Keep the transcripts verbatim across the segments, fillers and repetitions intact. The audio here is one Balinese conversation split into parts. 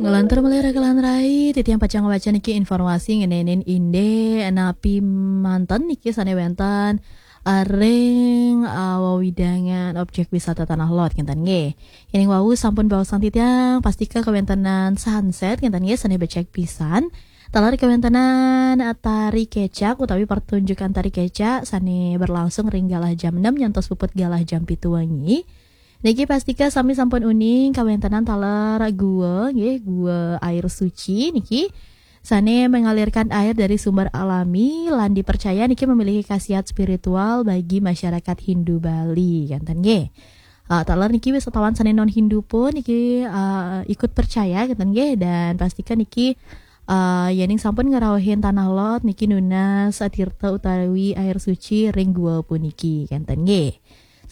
Nglantur malih rakalan rai, titiang pacang waca niki informasi ngenenin indik napi manten niki sane wenten, eh, ring, eh, wewidangan objek wisata Tanah Lot, kenten nggih. Yening wau sampun baosan titiang, pastika kawentenan sunset, kenten nggih, sane becek pisan. Taler kawentenan, eh, tari kecak utawi pertunjukan tari kecak sane berlangsung ring galah jam enam nyantos puput galah jam pitu wengi. Niki pastika sami sampun uning kawentenan taler gua, nggih, gua air suci niki sane mengalirkan air dari sumber alami lan dipercaya niki memiliki khasiat spiritual bagi masyarakat Hindu Bali, kenten nggih. Ah, taler niki wisatawan sane non Hindu pun niki, ah, ikut percaya, kenten nggih, dan pastika niki, ah, yening sampun ngrauhin Tanah Lot niki nunas tirta utawi air suci ring gua puniki, kenten nggih.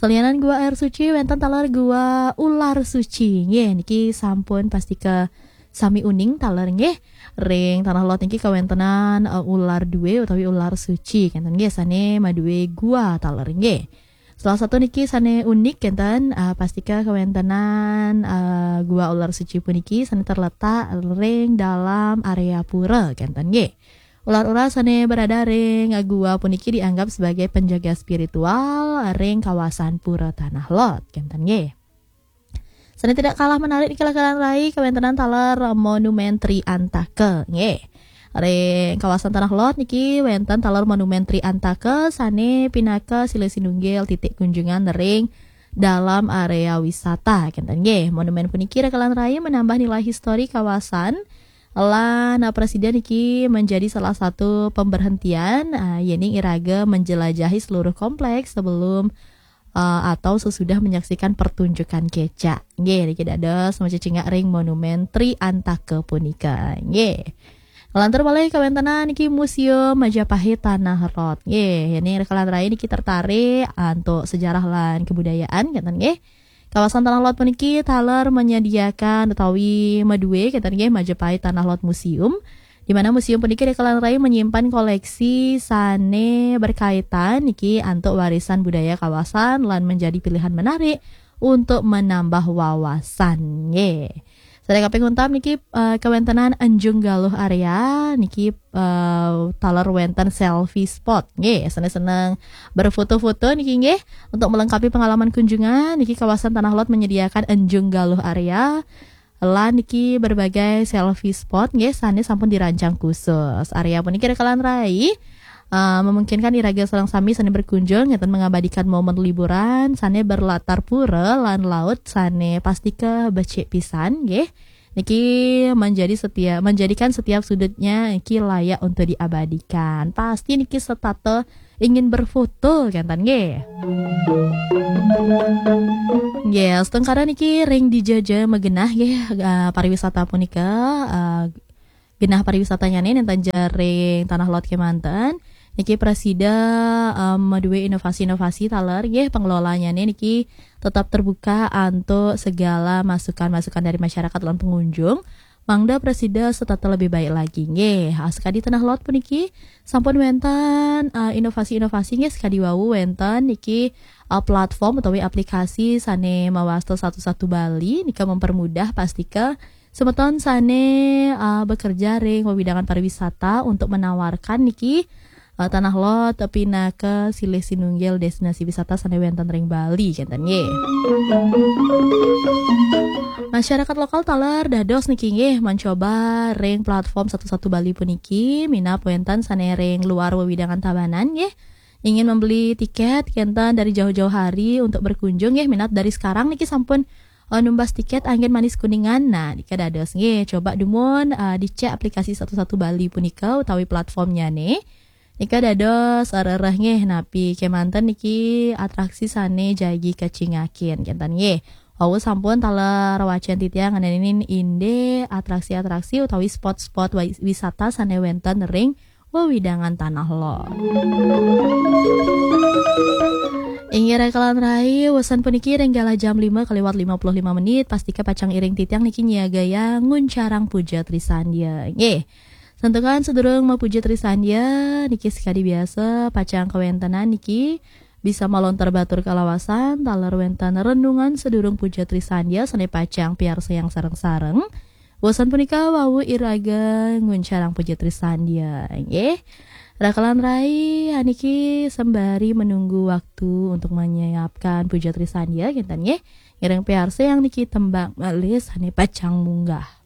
Salianan gua air suci, wenten taler gua ular suci. Nggih, niki sampun pastika sami uning taler nggih. Ring Tanah Lot niki kawentenan, eh, ular due utawi ular suci, kenten nggih, sane madue gua taler nggih. Salah satu niki sane unik kenten, eh, pastika kawentenan, eh, gua ular suci puniki sane terletak ring dalam area pura, kenten nggih. Ular-ular sane berada ring gua puniki dianggap sebagai penjaga spiritual ring kawasan Pura Tanah Lot, kenten nggih. Sane tidak kalah menarik niki rakalan rai, kawentenan taler Monumen Tri Antaka, nggih. Ring kawasan Tanah Lot niki wenten taler Monumen Tri Antaka sane pinaka silih sinunggil titik kunjungan ring dalam area wisata, kenten nggih. Monumen puniki rakalan rai menambah nilai histori kawasan lan, eh, prasida niki menjadi salah satu pemberhentian, eh, yening iraga menjelajahi seluruh kompleks sebelum, eh, atau sesudah menyaksikan pertunjukan kecak. Nggih, niki dados macecingak ring Monumen Tri Antaka punika. Nggih. Lantur malih kawentenan niki Museum Majapahit Tanah Lot. Nggih, yening rakalan rai niki tertarik antuk sejarah lan kebudayaan, kenten nggih. Kawasan Tanah Lot puniki taler menyediakan utawi madue, kenten nggih, Majapahit Tanah Lot Museum, di mana museum puniki rakalan rai menyimpan koleksi sane berkaitan niki antuk warisan budaya kawasan lan menjadi pilihan menarik untuk menambah wawasan. Nggih. Sane kaping untat niki, eh, kawentenan Enjung Galuh Area niki, eh, taler wenten selfie spot. Nggih, sane seneng berfoto-foto niki nggih. Untuk melengkapi pengalaman kunjungan, niki kawasan Tanah Lot menyediakan Enjung Galuh Area. Lan niki berbagai selfie spot nggih sane sampun dirancang khusus. Area puniki rakalan rai, eh, memungkinkan iraga sareng sami sane berkunjung ngeten mengabadikan momen liburan sane berlatar pura lan laut sane pastika becik pisan nggih. Niki menjadi setiap, menjadikan setiap sudutnya niki layak untuk diabadikan. Pasti niki setata ingin berfoto, kenten nggih. Nggih, astungkara niki ring dija-dija magenah nggih, eh, pariwisata punika, eh, genah pariwisatanyane nenten ja ring Tanah Lot kemanten. Niki prasida, em, madue inovasi-inovasi taler nggih, pengelolanyane niki tetap terbuka antuk segala masukan-masukan dari masyarakat lan pengunjung. Mangda prasida setata lebih baik lagi nggih. Ah, sekadi Tanah Lot puniki sampun wenten, ah, inovasi-inovasi nggih, sekadi wau wenten niki, ah, platform utawi aplikasi sane mawasta satu satu Bali nika mempermudah pastika semeton sane, ah, bekerja ring wewidangan pariwisata untuk menawarkan niki, eh, Tanah Lot pinaka silih sinunggil destinasi wisata sane wenten ring Bali, kenten nggih. Masyarakat lokal taler dados niki nggih mencoba ring platform satu satu Bali puniki, minab wenten sane ring luar wewidangan Tabanan nggih. Ingin membeli tiket kenten dari jauh-jauh hari untuk berkunjung nggih, minab dari sekarang niki sampun, eh, numbas tiket anggen manis Kuningan. Nah, nika dados nggih, coba dumun, eh, dicek aplikasi satu satu Bali punika utawi platformnyane. Nika dados rereh nggih napi kemanten niki atraksi sane jagi kacingakin kenten nggih. Wau sampun taler wacen titiang ngenenin indik atraksi-atraksi utawi spot-spot wa-, wisata sane wenten ring wewidangan Tanah Lot. Inggih rakalan rai, wesan puniki ring galah jam lima kaliwat lima puluh lima menit, pastika pacang iring titiang niki nyiagayang nguncarang puja Trisandya. Nggih. Santukan sadurung mapuja Trisandya, niki sekadi biasa, pacang kawentenan niki bisa malontar batur kalawasan, taler wenten renungan sadurung puja Trisandya, sane pacang piarsayang sareng-sareng. Wawasan punika wau iraga nguncarang puja trisandia, nggih. Rakalan rai, haniki sembari menunggu waktu untuk menyiapkan puja trisandia, kinten nggih. Ngiring piarsa yang niki tembang malih sane pacang munggah.